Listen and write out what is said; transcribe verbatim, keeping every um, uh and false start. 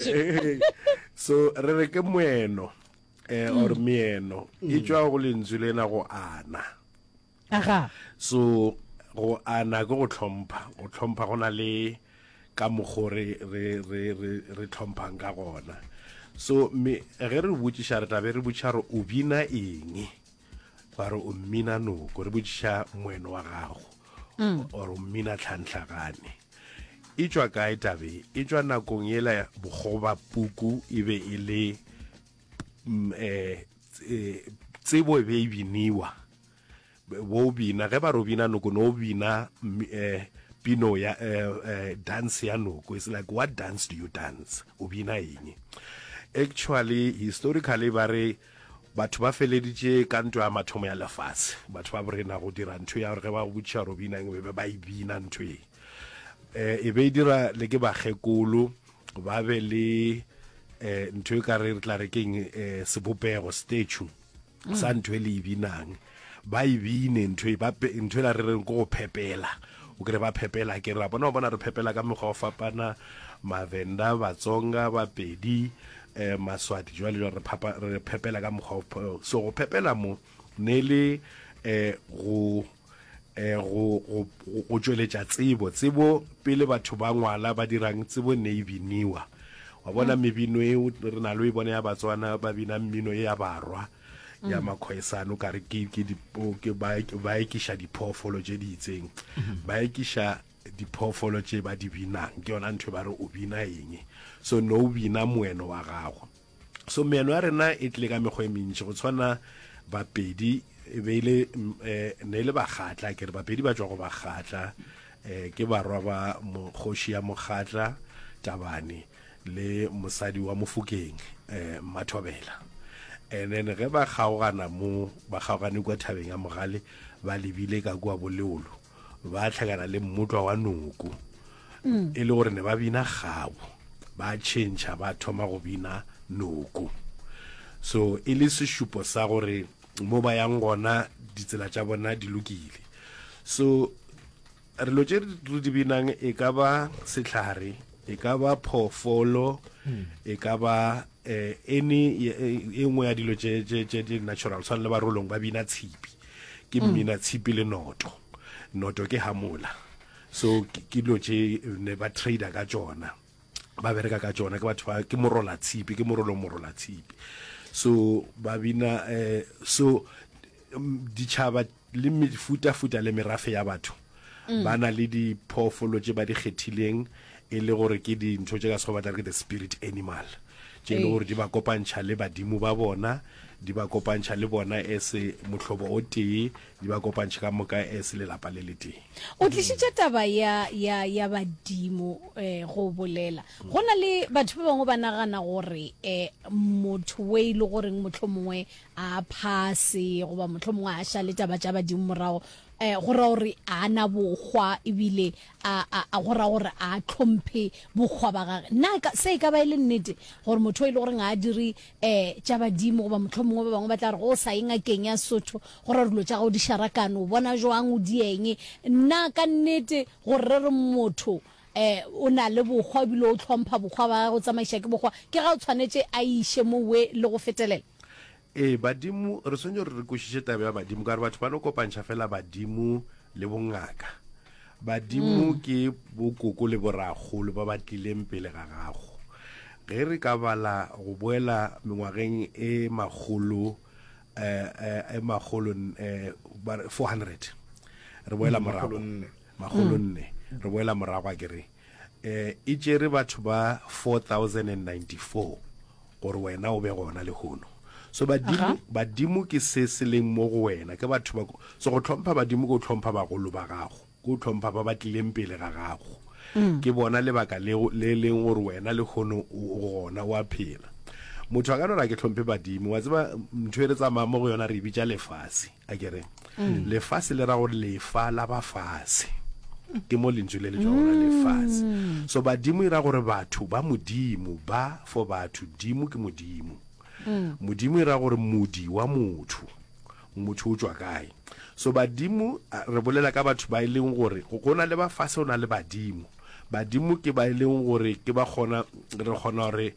Eh, so re re ke moeno eh or meeno e tšwa go lentswe lena go ana. Aga. So go ana ke go tlhompha, go tlhompha go na le ka mokgo re re re re re tlhomphang ka gona. So me ge re botšiša, re tla be re botšiša re o bina eng, ba re o mmina noko, re botšiša moeno wa gago or o mmina tlhantlhagane. E tšwa kae tabe? E tšwa nakong yela bokgoba puku e be e le mm, eh, eh, tsebo e be e biniwa, bo bina ge ba re o bina noko, no bina mm, eh, pino ya eh, eh, dance ya noko. It's like, what dance do you dance? O bina eng actually? Historically ba re batho ba feleditše ka ntwa ya mathomo ya lefase, batho ba borena go dira ntho ya gore ge ba go botšiša gore o bina eng, be ba e bina ntho e eh e be e dira le ke bakgekolo, ba be le eh ntho e ka re re tla re keng, eh sebopego, statue sa ntho e le e binang, ba e bine ntho e ba pe- ntho e la re reng ke go phepela. O kry ba phepela, ke ra bona, o bona re phepela ka mekgwa wa fapana, Mavenda, Batsonga, Bapedi, eh Maswati, jwale jwale re phapa re phepela ka mokgwa wa- so go phepela mo ne le eh go eh go go go tšweletša tsebo. Tsebo pele batho ba ngwala ba dirang, tsebo ne e biniwa. Wa bona mebino eo re na le o e bona ya Batswana, ba bina mmino e ya barwa ya Makhoesane, o kare ke ke di ke ba ba ekiša diphoofolo tše di itseng, ba ekiša diphoofolo tše ba di binang. Ke yona ntho e ba re o bina eng. So no o bina moeno wa gago. So meeno ya rena e tlile ka mekgwa e mentši. Go tshwana Bapedi e be ile eh, ne e le Bakgatla, ke re Bapedi ba tšwa go Bakgatla, eh, ke barwa ba mokgoši ya Mokgatla Tabane le mosadi wa Mofokeng, eh, Mmathobela. And then ge ba kgaogana mo, ba kgaogane kua thabeng ya Mogale, ba lebile ka kua Boleolo, ba hlakana le mmotlwa wa noko, e le gore ne ba bina kgabo, ba tšhentšha ba thoma go bina noko. So e le sešupo sa gore mo ba yang gona ditsela tša bona di lokile. So re lo tše re di binang e ka ba sehlare, e ka ba phoofolo, e ka ba eh, any e nngwe ya dilo tše tše tše di natural. Tshwana le Barolong ba bina tshipi, ke mmina tshipi le noto, noto ke hamola. So ke ke dilo tše ne ba trader ka tšona, ba bereka ka tšona, ke batho ba ke morola tshipi, ke morolo morola tshipi. So ba bina eh, so mm, ditšhaba le mefutafuta le merafe ya batho ba na le diphoofolo tše ba di kgethileng e le gore ke dintho tše ka sekgowa ba tla re ke the spirit animal, tše e le gore di ba kopantšha le badimo ba bona, di ba kopantšha le bona as mohlobo o tee, di ba kopantšha ka moka as lelapa le le tee. O tlišitše taba ya ya ya badimo eh, go bolela go na le batho ba bangwe ba nagana gore eh, motho we e le goreng mohlomongwe a phase goba mohlomongwe a šale taba tša badimo morago, eh, go ra gore a na bokgwa, ebile a a a go ra gore a tlhomphe bokgwa ba gage. Na ka se e ka ba e le nnete gore motho e le goreng a dire eh tša badimo, goba mohlomongwe ba bangwe ba tla re go sa ye ngakeng ya Sotho go ra dilo tša gago di šarakane, o bona jwang, o dieng? Na ka nnete gore re re motho eh o na le bokgwa ebile o tlhompha bokgwa ba gage, o tsamaiša ke bokgwa, ke ga o tshwanetše a iše mowe le go fetelela? Ee, badimo re swanetše gore re kwešiše taba ya badimo, ka gore batho ba no kopantšha fela badimo le bongaka. Badimo ke bokoko le borakgolo ba ba tlileng pele ga gago. Ge re ka bala go boela mengwageng e makgolo eh, eh, e makgolo eh, ba re four hundred, re boela morago, makgolo nne, re boela morago, a ke re eh e tšere batho ba four thousand ninety-four gore wena o be gona lehono. So badimo, badimo ke se se leng mo go wena, ke batho ba. So go tlhompha badimo ke go tlhompha bagolo ba gago, ke go tlhompha ba ba tlileng pele ga gago. Ke bona lebaka le le leng gore wena lehono o gona, o a phela. Motho a ka no re a ke tlhomphe badimo, wa tseba ntho e re tsamayang mo go yona re e bitša lefase, a ke re lefase le ra gore lefa la ba fase, ke mo lentswe le le tšwa gona, lefase. So badimo e ra gore batho ba modimo, ba for batho, dimo ke modimo, modimo e ra gore modi wa motho, motho o tšwa kae. So badimo re bolela ka batho ba e leng gore go na le ba fase, go na le badimo. Badimo ke ba e leng gore ke ba kgona, re kgona gore